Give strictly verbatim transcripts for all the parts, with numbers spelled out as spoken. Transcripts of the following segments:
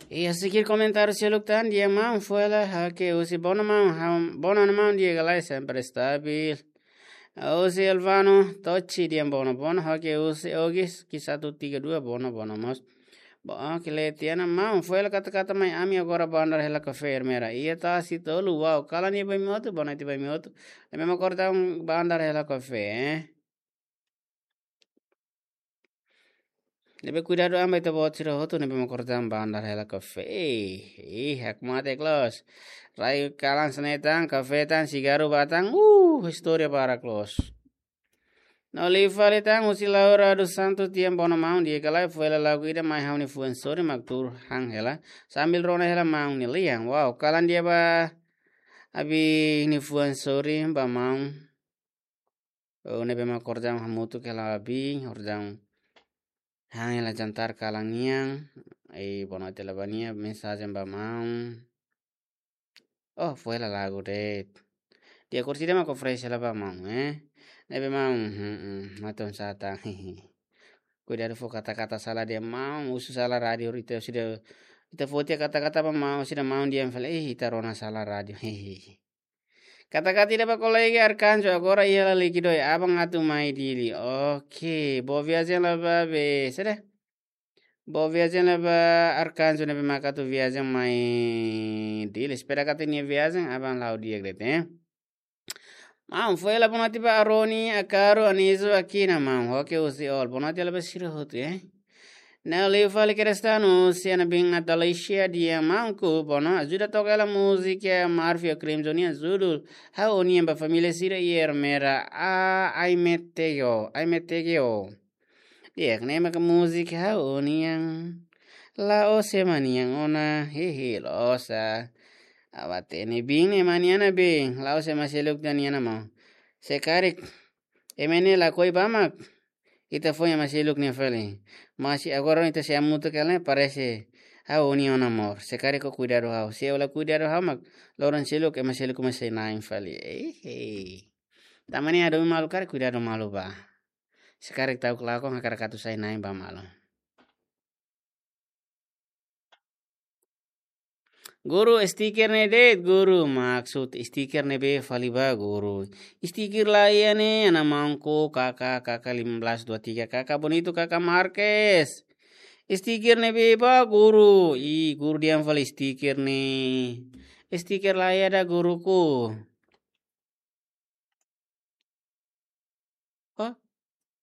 Iha sikir komentáriu seluk tan dehan maun fo'er la hake husi Bono maun, ham-, Bono nia maun di'ak ka lae sempre stabil. Husi Elvano Tochi dehan Bono, Bono hake husi Ogis ki satu tiga dua Bono, Bono mós. Bo, ah, kile tiana maun fo'er la kata-kata mai ami agora ba andar hela kafé Ermera. Iha tasi tolu, wow, kalan iha ba imi hotu, bonaiti ba imi hotu. Ami mak kordang ba andar hela kafé, eh. Ne'ebé kuidadu an ba ita-boot sira hotu ne'ebé mak kordang ba andar hela kafé. Eh, eh, hakmatek loos. Rai kalan hanesan ne'e tan, kafé tan, sigarru ba tan. Uh, istória barak loos. No liu fali tan husi Laura dos Santos dehan Bono maun di'ak ka lae fo'er la lagu ida mai ha'u-nia fuan sorin mak tuur han hela. Sambil rona hela maun nia lian. Wow, kalan di'ak ba abin nia fuan sorin ba maun. Oh, ne'ebé mak kordang hamutuk hela abin, kordang han hela jantar kalan nian. Eh, bonaiti la ba nia mensajen ba maun. Oh, fo'er la lagu de'it. Di'ak kursi ida mak oferese hela ba maun, eh. Ne'ebé maun, hmm, hmm, maton satan. Kuidadu fó kata-kata sala dehan maun, husu sala rádiu ita sira, ita fó tiha kata-kata ba maun, sira maun dehan fali, eh, ita rona sala rádiu. Kata-kata ida ba kolega Arkanjo, agora iha laliki doi, aban atu mai Dili. Oke, boa viajen lai ba be, sede? Boa viajen lai ba Arkanjo ne'ebé mak atu viajen mai Dili. Espera katak nia viajen aban la'o di'ak de'it, eh. Maun, fo'er la bonaiti ba Aroni, Akaru, Anizo, Akina, maun. Ha'u hake husi Ol. Bonaiti lai ba sira hotu, eh. Ne'e liu fali Kristano, husi Ana Bin Natalicia dehan maun ku, Bono, ajuda toka hela múzika Marfio Crimson nian judul Ha'u Ó-nian ba família sira iha Ermera, a, Aimetego, Aimetego. Di'ak, ne'e maka múzika Ha'u Ó-nian. La'ós ema nian ona, hehe, loos. Awa tene bin ne'e mani ana bin, la'ós ema seluk tan nian ona maun. Se karik ema ne'e lakohi ba mak ita foin ema seluk ne'e fali. Mas agora ita sei hamutuk hela ne'e parese Ha'u Ó-nian ona mós. Se karik ó kuidadu ha'u. Se ó la kuidadu ha'u mak loron seluk ema seluk mak sei na'in fali. Eh, eh. Tanba ne'e hadomi malu karik kuidadu malu bá. Se karik ta'uk lakon hakarak atu sai na'in bá malu. Guru, stiker ne'e de'it, guru. Maksud stiker ne'ebé fali bá, guru? Stiker laiha ne'e, Ana Maun Ku, K K, K K lima belas dua tiga, K K Bonito, K K Marques. Stiker ne'ebé bá, guru? Ih, guru dehan fali stiker ne'e. Stiker laiha ida, guruku. Oh,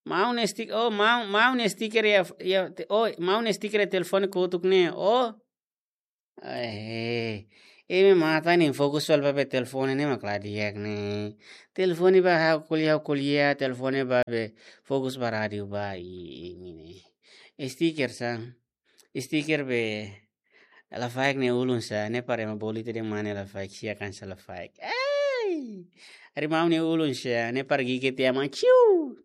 maun nia stik-, oh, maun, maun nia stiker iha, iha, te-, oh, maun nia stiker iha telefone kotuk ne'e. Oh. Eh, imi matan ne'e fokus fali ba be telefone ne'e mak la di'ak ne'e. Telefone bá ha'u ko'alia, ha'u ko'alia, telefone bá be fokus ba rádiu bá, i, i, ini. Stiker sá. Stiker be lafaek nia ulun sá, ne'e para ema bolu ita dehan mane lafaek, sia kan sá lafaek. Ei! Ari maun nia ulun sá, ne'e para gigit ema ciu.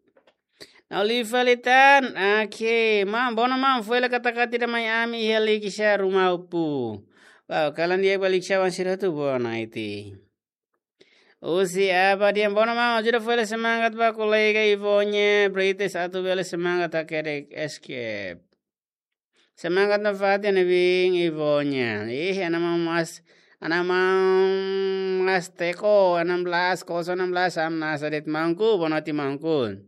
Nau li fali tan, oke, maun, Bono maun, fo'er la kata-kata ida mai ami iha liki sá ruma upu. Wow, kalan di'ak ba liki sá wan sira tu bonaiti. Husi Aba dehan Bono maun, ajuda fo'er la semangat ba kolega Ivonya, Brites atu bele semangat hakerek escape. Semangat nafatin ne'e bin Ivonya. Ih, Ana Maun Mas, Ana Maun Mas Teko, enam belas, kosong enam belas, am nasa de'it maun ku, bonaiti maun ku.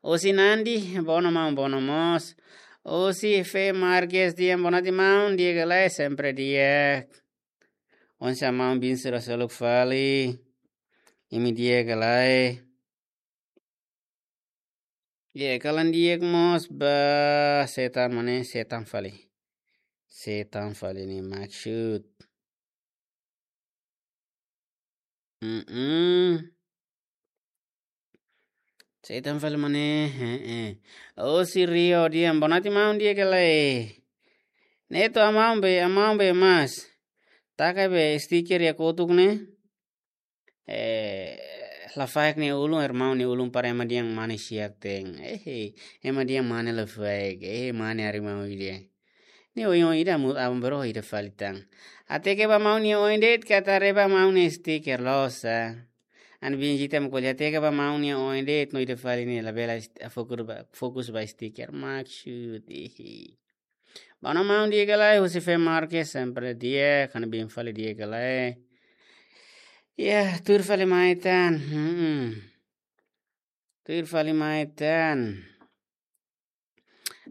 Husi Nandi, Bono maun, Bono mós. Husi Fe Marques dehan bonaiti maun, di'ak ka lae, sempre di'ak. Oinsá maun bin sira seluk fali. Imi di'ak ka lae. Ye, kalan di'ak mós ba setan mane, setan fali. Setan fali ne'e maksud. Mm-mm. Setan fali mane, heeh. Husi Rio dehan bonaiti maun, di'ak ka lae. Neto, Ana Maun be, Ana Maun be mas. Taka be stiker iha kotuk ne'e. Eh, lafaek nia ulun, irmaun nia ulun para ema dehan mane siak ten. Eh, ema dehan mane lafaek, eh, mane ari maun ida. Ne'e oin-oin ida mu abang bro ida fali tan. Hateke ba maun nia oin de'it, karik haree ba maun nia stiker loos sá. Ana bin Jita mak ko'alia, hateke ba maun nia oin de'it, no ida fali ne'e labele st-, fokus ba, fokus ba stiker. Maksud, eh. Bá ona maun, di'ak ka lae? Husi Fe Marques, sempre di'ak, ha'u-nia biin fali, di'ak ka lae? Ya, tuir fali mai tan. Hmm. Tuir fali mai tan.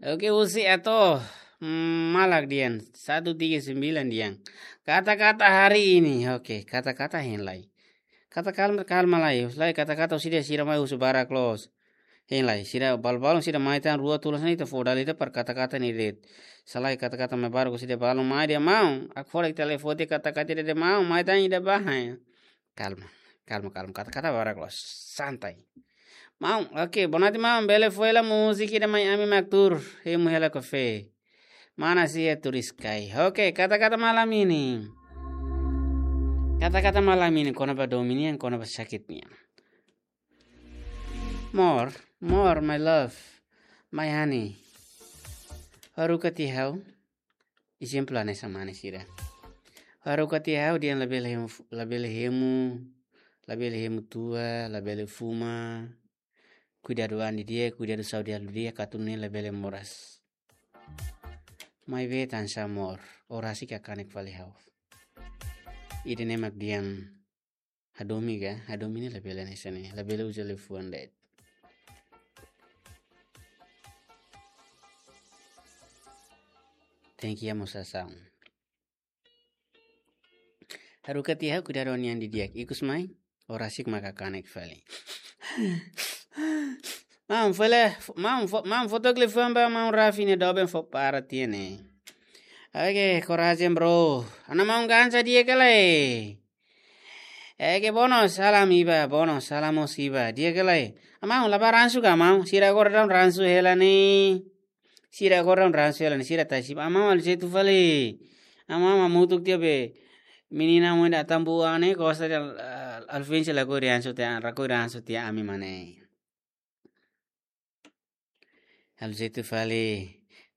Oke, husi Ato, mm, Malak dehan, satu tiga sembilan dehan. Kata-kata hari ini. Oke, kata-kata hein lai. Kata kalma, kalma lai. Lai kata-kata sira, sira mai husu barak loos. Hein lai, sira balu-balu sira mai tan rua tolu hanesan ne'e, ita fó dala ida para kata-kata ne'e de'it. Se lae kata-kata mai barak sira balu mai dehan maun. Aku fora telefone kata-kata de'it maun, mai tan ida bá. Kalma, kalma, kalma. Kata-kata barak loos. Santai. Maun, oke, boa noite maun. Bele fó hela múzika ida mai ami mak tuur hemu hela kafé. Mana sia turis kai. Oke, kata-kata malam ini. Kata-kata malam ini kona-ba domin nian, kona-ba sakit nian. More, more, my love, my honey. Haruka tiha ha'u. Ezemplu hanesan mane sira. Haruka tiha ha'u dehan labele hemu, labele hemu, labele hemu tua, labele fuma. Kuidadu an didi'ak, kuidadu saúde halo didi'ak, atu nune'e labele moras. Maibé tansá more, ó rasik hakanek fali ha'u. Ida-ne'e mak dehan hadomi ka, hadomi ne'e labele hanesan ne'e, labele uza liafuan de'it. Tenke iha mosasaun. Haruka tiha ha'u kuidadu an nian didi'ak, ikus mai, ó rasik mak hakanek fali. Maun, fó hela, maun, fó, maun, fó took liafuan ba maun Rafi ne'e doben fó para tiha ne'e. Oke, korajen bro. Ha'u-nia maun Gansa, di'ak ka lae? Oke, Bono, salam iha, Bono, salam mós iha, di'ak ka lae? Maun, la bá ransu ka maun? Sira agora daudaun ransu hela ne'e. Sira agora daudaun ransu hela ne'e, sira tasi. Maun, halo jeitu fali. Maun, hamutuk tiha be. Menina mós ida Atambua ne'e, gosta de, ah, Alvin sira lakohi ransu tiha, lakohi ransu tiha ami mak ne'e. Halo jeitu fali.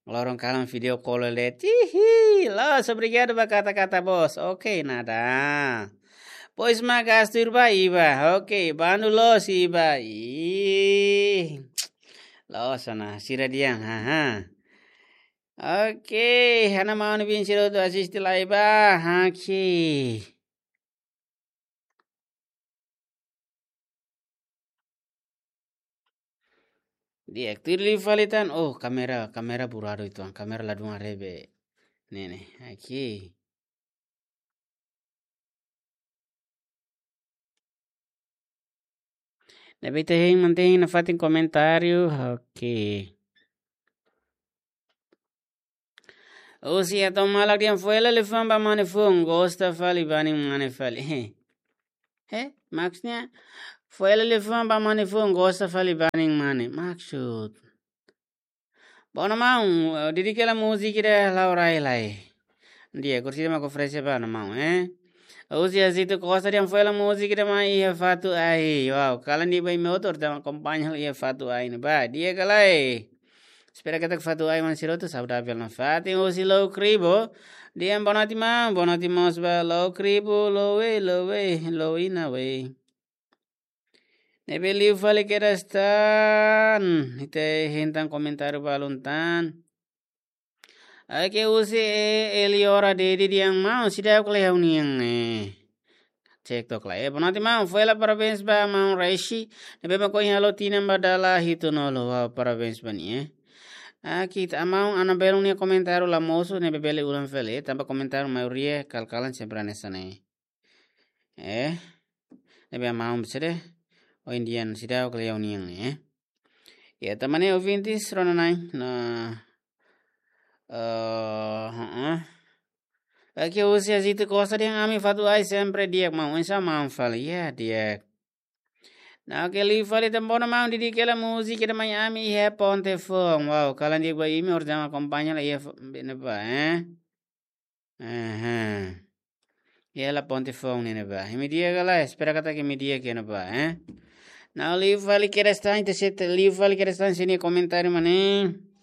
Loron kalan video call de'it. Hihi, loos, obrigadu ba kata-kata boos. Oke, nada. Pois mak gastu irba iba. Oke, bandu loos iba. Ih. Loos ona, sira dehan, haha. Oke, ha'u-nia maun Vincent Roto asiste lai ba. Oke. Di'ak, tuir liu fali tan. Oh, kamera, kamera buradu itu, kamera ladún haree be. Ne'e, ne'e, aqui. Ne'ebé ita hein, mantén nafatin komentáriu. Oke. Husi Ato Malak dehan fó hela liafuan ba mane foun, gosta fali banin mane fali. He? He? Maksudnya, fó hela liafuan ba mane foun, gosta fali banin mane. Maksud. Bono maun, eh, didik hela múzika ida la'o rai lai. Di'ak, kursi ida mak oferese ba ona maun, eh. Husi Azito Costa dehan fó hela múzika ida mai iha fatuk ahi. Wow, kalan di'ak ba imi hotu, ita akompaña iha fatuk ahi ne'ebá. Di'ak ka lae? Espera katak fatuk ahi maun sira hotu saudável nafatin. Husi Lou Kribo dehan boa noite maun, boa noite mós ba Lou Kribo, Lou we, Lou we, Lou ina we. Ne'ebé liu fali kedas tan. Ita hein tan komentáriu balun tan. Oke, husi, eh, Eliora Dedi dehan maun, seidauk lee ha'u-nian, eh. Cek took lai. Eh, boa noite maun, fó hela parabéns ba maun Raishi. Ne'ebé mak ohin halo tinan ba dala hitunulu, wow, parabéns ba nia, eh. Aqui, ita-nia maun Ana Belun nia komentáriu la mosu, ne'ebé bele ulang fali, eh. Tanba komentáriu maioria kal-kalan sempre hanesan ne'e. Eh, ne'ebé maun besede, ohin dehan seidauk lee ha'u-nian, eh. Ya, tan ne'e ouvintes, rona-na'in, na, eh, heeh. Aqui husi Azito Costa dehan ami fatuk ahi sempre di'ak maun, oinsá maun fali, ya, di'ak. Nah, oke, liu fali tan bono maun, didik hela múzika ida mai ami iha ponte foun. Wow, kalan di'ak ba imi, orsida mak akompaña lai iha fo-, ne'ebá, eh. Aha. Iha ponte foun ne'ebá. Imi di'ak ka lae, espera katak imi di'ak iha ne'ebá, eh. Nah, liu fali kedas tan, ita sei, liu fali kedas tan sira-nia komentáriu mak ne'e.